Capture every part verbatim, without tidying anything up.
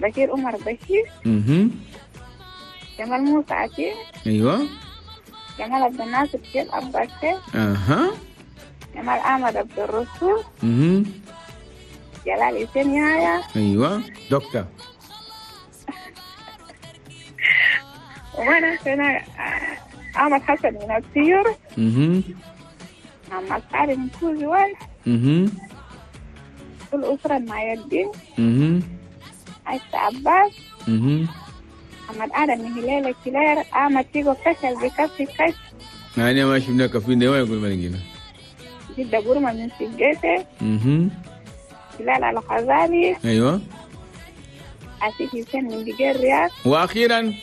بشير عمر بشير. اها. جمال موسى عتيق. ايوه. جمال عبد الناصر شيخ عباس. اها. جمال احمد عبد الرسول. اها. جلال حسين يايا. ايوه دكتور. وانا انا احمد حسن من السير. اها. محمد علي من كوزوال. اها. كل أسرة مع الدين. اها. عايشة عباس. اها. محمد آدم من هلال كلير. أحمد تيجو كشل بكفي كش. يعني ما شفنا كفين ده وين يقول ما لقينا. جدة بورما من سجيته. اها. هلال الغزالي. ايوه. عسيف حسين من دجير الرياض. واخيرا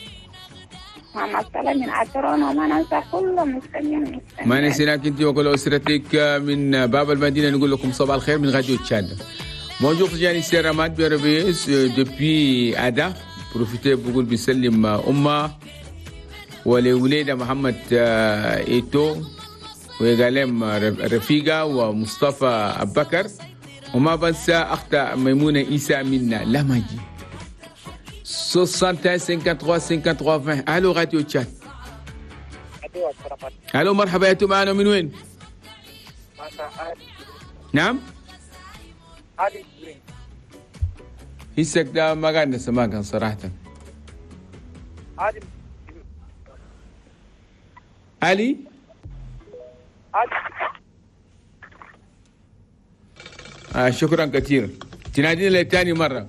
محمد صلاح من عطرون. وما ننسى كل مستمعين. ما نسيناك انت وكل اسرتك من باب المدينه. نقول لكم صباح الخير من راديو تشاد. Bonjour Tijani Seramat, bien réveillé depuis Ada. Profitez بقول بيسلم أمه ولوليدة محمد إيتو وقالم رفيقة ومصطفى أبكر، وما بنسى أختها ميمونة إيسا منا لماجي. soixante et un cinquante-trois cinquante-trois vingt. الو راديو تشاد. الو مرحبا، يا معنا من وين؟ نعم؟ هسك ده ما قاعد نسمعك صراحة. علي؟ آه شكرا كثير. تنادينا لثاني مرة.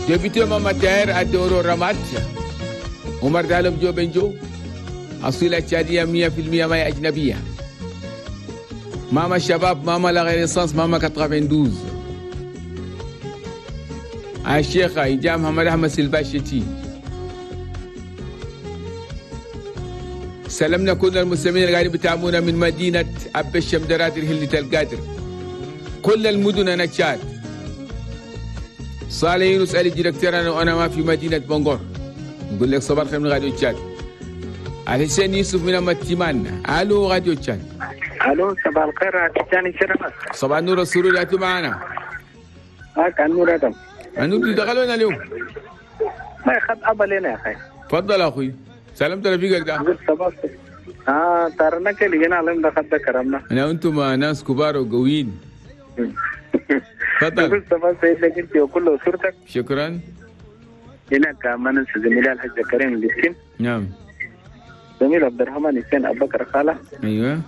député ماما تاهر الدورو رمات عمر دالب جو بنجو أصيلة تشادية مية في المية ما أجنبية. ماما الشباب، ماما la Renaissance، ماما quatre-vingt-douze. الشيخة إجام محمد أحمد سلباشتي. سلمنا كل المستمعين اللي قاعدين بتابعونا من مدينة أب الشمدرات الهلة القادر، كل المدن أنا تشاد. صالح يونس علي directeur أنا وأنا ما في مدينة بونغور. نقول لك صباح الخير من راديو تشاد. الحسين يوسف من أمتيمان. ألو راديو تشاد. الو صباح الخير تجاني سيرامات. صباح النور والسرور، يا معنا. هاك النور ادم. النور دخلونا اليوم. ما يخد ابا لنا يا اخي. تفضل اخوي، سلمت رفيقك ده. صباح اه ترنا كلي جينا علم دخلت كرمنا. انا انتم ناس كبار وقويين. تفضل. صباح سيد لك انت وكل اسرتك. شكرا. هناك ما ننسى زميلي الحاج كريم الياسين. نعم. زميل عبد الرحمن حسين ابو بكر خاله. ايوه.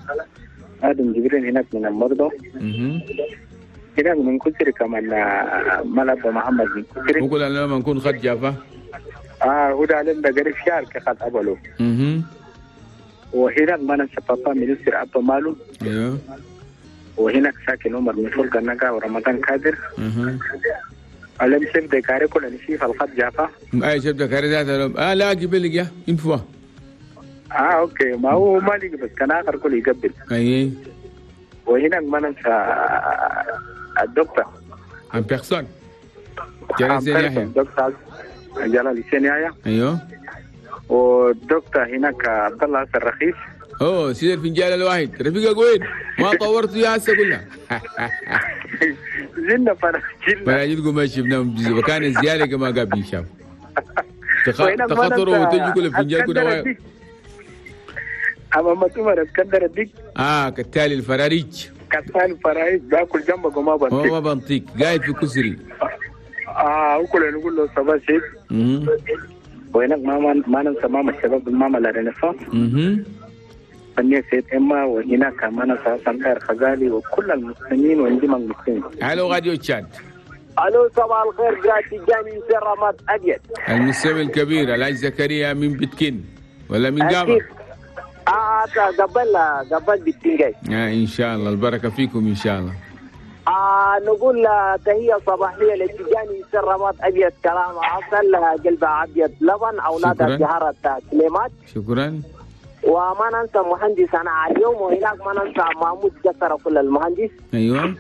ادم جبريل هناك من المرضى. اها. هناك من كسري كمان ملعب محمد من كسري. وكل لما نكون خد جافا. اه وده علم ده قريب شهر كخد ابلو. اها. وهناك ما ننسى بابا مينستر ابو مالو. ايوه. وهناك ساكن عمر من فوق النقا ورمضان كادر. اها. علم شيف دكاري كل نشيف الخط جافا. اي شيف دكاري ذات اه لا قبل يا انفوا. اه okay، ما هو ما لي بس كان اخر كل يقبل. اي. وهناك ما ننسى الدكتور en personne جلال زين يحيى. الدكتور جلال زين يحيى. ايوه. والدكتور هناك عبد الله حسن رخيص. اوه سيد الفنجان الواحد رفيقك وين؟ ما طورت يا هسه كلها. زلنا فراجلنا فراجلكم ما شفناهم وكان الزياده كما قبل شاف. تخاطروا وتجوا كل الفنجان كنا. أما عمر اسكندر الديك. اه كتالي الفراريج. كتالي الفراريج باكل جنبك وما بنطيق. هو ما بنطيق قاعد في كسري. اه وكل نقول له صباح سيد. اها. وهناك ماما ما ننسى ماما الشباب ماما la Renaissance. اها. فنية سيد إما. وهناك ما ننسى حسن خير خزالي وكل المسلمين وانجم المسلمين. الو راديو تشاد. الو صباح الخير جاتي جاني سرامات ابيض. المستمع الكبير الحاج زكريا من بتكين ولا من قابة؟ اه قبل قبل بالتنجاي. آه ان شاء الله البركه فيكم ان شاء الله. آه نقول تحيه صباحيه للتجاني سرامات ابيض كلام عسل قلب ابيض لبن اولاد جهرة سليمات. شكرا. وما ننسى مهندس انا اليوم، وهناك ما ننسى محمود جسر كل المهندس. ايوه.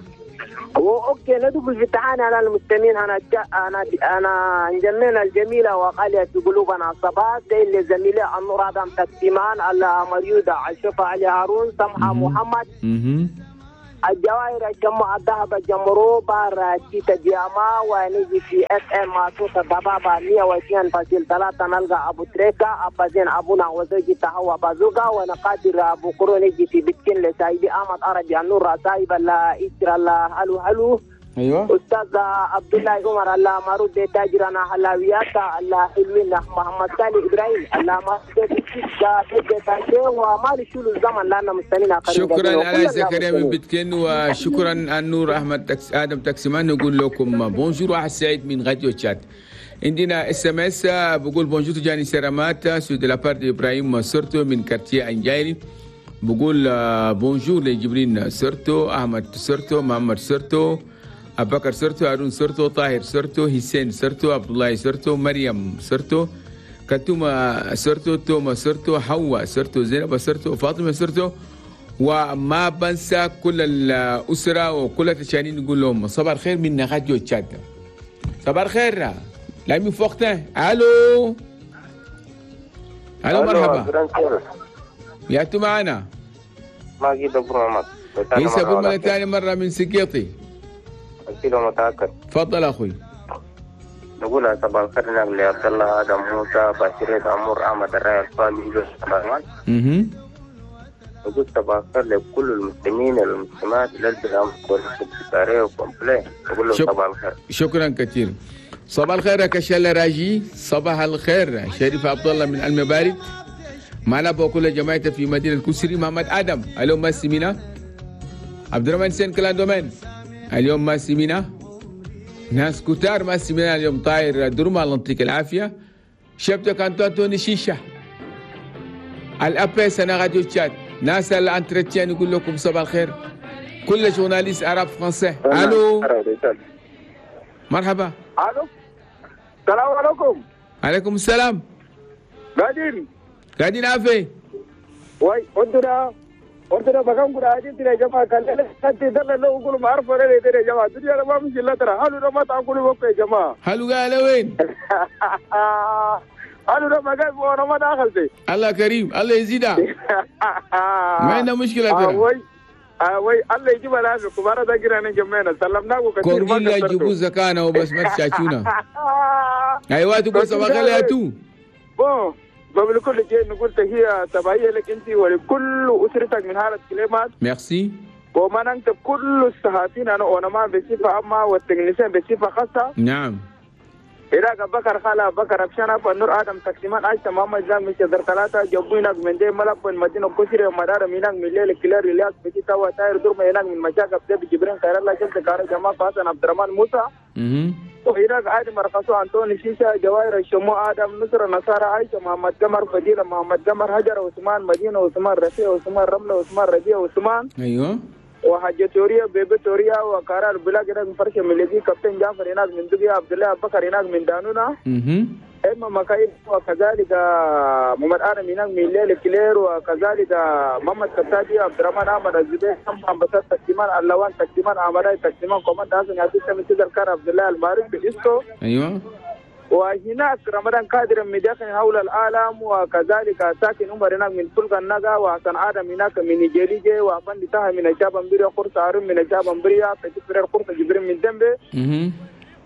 okay ندخل في التعاني على المستمعين. انا انا انا انجمنا الجميله وغاليه في قلوبنا صباح اللي زميلي النور ادم تكتيمان المريوده عشفه علي هارون سمحه محمد. اها. الجواهر الجمع الذهب الجمرو بار تيتا جياما ونجي في اف ام صوت الضبابة مية واثنين فاصل ثلاثة نلقى ابو تريكا ابا زين ابونا وزوجي تهوى بازوكا ونقادر ابو كرو نجي في بتكين لسايبي احمد عربي النور سايب الله إسر الله هلو هلو. ايوه استاذ عبد الله عمر الله مرود تاجرنا حلاويات الله حلوين محمد سالي ابراهيم الله مرود وما شو الزمن لان مستنينا. شكرا على زكريا من بتكين وشكرا النور احمد تكس ادم تاكسمان. نقول لكم bonjour واحد سعيد من راديو تشاد. عندنا SMS بقول bonjour تجاني سرامات c'est de la part ابراهيم سورتو من quartier انجايري. بقول bonjour لجبرين سورتو احمد سورتو محمد سورتو أبو بكر سرتو هارون سرتو طاهر سرتو حسين سرتو عبد الله سرتو مريم سرتو كتومة سرتو توما سرتو حواء سرتو زينب سرتو فاطمة سرتو. وما بنسى كل الأسرة وكل التشانين نقول لهم صباح الخير من راديو تشاد. صباح الخير لامي فوقتنا. الو الو مرحبا يا تو معنا ماجد ابو محمد عيسى ابو محمد ثاني مرة من سقيطي. كيلو متأكد. تفضل اخوي. نقول صباح الخير نقل عبد الله ادم موسى بشير عمر احمد الراي الفامي اها. نقول صباح الخير لكل المسلمين والمسلمات للبلاد والسكرية وكومبلي. نقول لهم صباح الخير. شكرا كثير. صباح الخير يا كشال راجي. صباح الخير شريف عبد الله من المبارك. معنا بكل جماعته في مدينة كسري. محمد ادم اليوم ما سمينا. عبد الرحمن سين كلاندومين اليوم ما سمينا. ناس كتار ما سمينا اليوم. طاير درما الله يعطيك العافية. شبتك انتوني شيشة الابيس انا راديو تشاد. ناس ال entretien يقول لكم صباح الخير. كل journalistes arabes français. الو مرحبا. الو السلام عليكم. عليكم السلام. قاعدين قاعدين عافية. وي عندنا عندنا بقام كنا عايزين ترى جماعة كان أنت دل لو يقولوا ما عارف ولا ترى جماعة الدنيا ما مش إلا ترى هلو ما تأكلوا بقى يا جماعة. هلو قال وين؟ هلو ما قال وأنا ما دخلت. الله كريم الله يزيدها. ما عندنا مشكلة ترى. وي وي الله يجيب العافية كبارة ذاكرة جمعنا سلمناكم كثير. كونجيلا يجيبوا زكانا وبس ما تشاشونا. أيوة تقول صباح الخير يا تو. بون قبل كل شيء نقول تحية صباحية لك أنت ولكل أسرتك من هالة كلمات. ميرسي. وما ننسى كل الصحفيين أنا وأنا ما بصفة عامة والتكنيسيين بصفة خاصة. نعم. إراك بكر خالة بكر أبشانا فنور آدم تقسيمان عائشة محمد زام مش در ثلاثة جبوينك من دي ملك من مدينة كسرة ومدار مينك من ليل كلار إلياس بتيتا وتاير دور مينك من مشاكل بتبي جبرين خير الله شمس كار جماعة حسن عبد الرحمن موسى. وإراك آدم مرقصو أنطوني شيشة جواهر الشمو آدم نصر نصارى عائشة محمد قمر فضيلة محمد قمر هجر عثمان مدينة عثمان رفيع عثمان رملة عثمان ربيع عثمان. أيوه. وحاجة توريا بيبي توريا وقرار بلاك هناك من فرشة مليكي كابتن جعفر هناك من دقيا عبد الله بكر هناك من دانونا. إما مكايد وكذلك محمد آدم هناك من ليل كلير وكذلك محمد كتاجي عبد الرحمن أحمد الزبير أمبسات تكتيمان اللوان تكتيمان أمراي تكتيمان كومان حسن ياسين تمسيد الكار عبد الله المعروف بإسكو. أيوه. وهناك رمضان قادر من داخل حول العالم وكذلك ساكن عمر هناك من فلك النجا وحسن آدم هناك من نيجيريا وأفندي طه من الشاب قرص هارون من الشاب أمبريا فتفرر قرص جبرين من دمبي.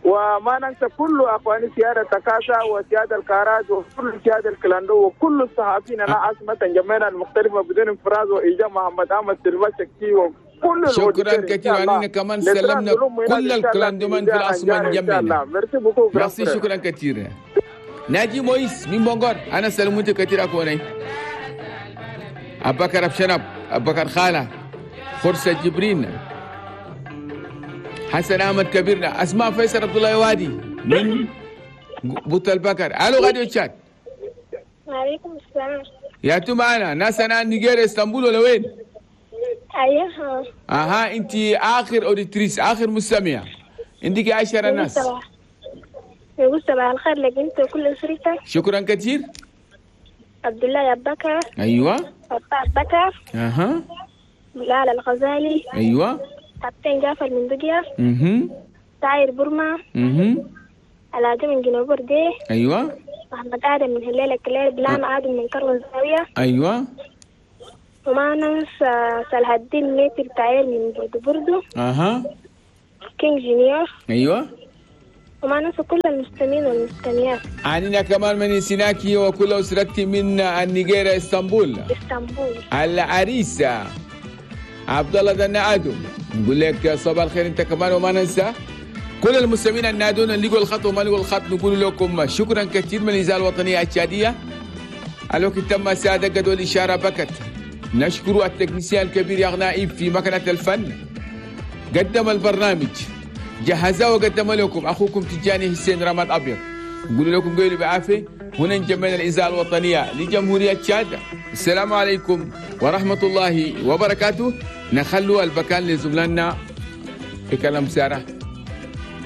وما ننسى كل أخواني سيادة تكاسا وسيادة الكاراج وكل سيادة الكلاندو وكل الصحفيين أنا عاصمة جمعنا المختلفة بدون انفراز وإيجا محمد أحمد سلفا شكي وكل. شكرا كثيرا علينا كمان سلمنا كل الكلاندومان في العاصمة جمعنا. ميرسي شكرا كثيرا. ناجي مويس من بونغور أنا سلمت كثير أكوني. أبو بكر أبشنب أبو بكر خالة خرسة جبرين حسن أحمد كبيرنا أسماء فيصل عبد الله وادي من بوت البكر. ألو غادي تشات. وعليكم السلام. يا تو معنا ناس أنا نيجيريا اسطنبول ولا وين؟ أيوه. أها أنت آخر auditrice آخر مستمعة عندك عشرة ناس. نقول صباح الخير لك أنت وكل أسرتك. شكرا كثير. عبد الله أبو بكر. أيوه. أبو بكر. أها. بلال الغزالي. أيوه. كابتن جعفر من دقيا. اها. ساير برما. اها. علاء من جنوب بردي. ايوه. محمد ادم من هلال الكلير. بلان ادم من كرم الزاوية. ايوه. وما ننسى صلاح الدين ميتر تعير من بردو بردو. اها. كينج جونيور. ايوه. وما ننسى كل المستمعين والمستمعات. عنينا كمان من سيناكي وكل اسرتي من النيجيريا اسطنبول. اسطنبول. العريسه عبد الله دنا ادم، نقول لك صباح الخير انت كمان. وما ننسى كل المستمعين النادون اللي لقوا الخط وما لقوا الخط، نقول لكم شكرا كثير من الاذاعة الوطنية التشاديه. الوقت تم ساده جدول الاشارة بكت. نشكر التكنيسيان الكبير يا غنائب في مكنه الفن، قدم البرنامج جهزه وقدم لكم اخوكم تجاني حسين رماد ابيض. نقول لكم قولوا بعافية. هنا نجمعنا الاذاعة الوطنية لجمهوريه تشاد. السلام عليكم ورحمة الله وبركاته. نخلوا البكان لزملائنا في كلام ساره.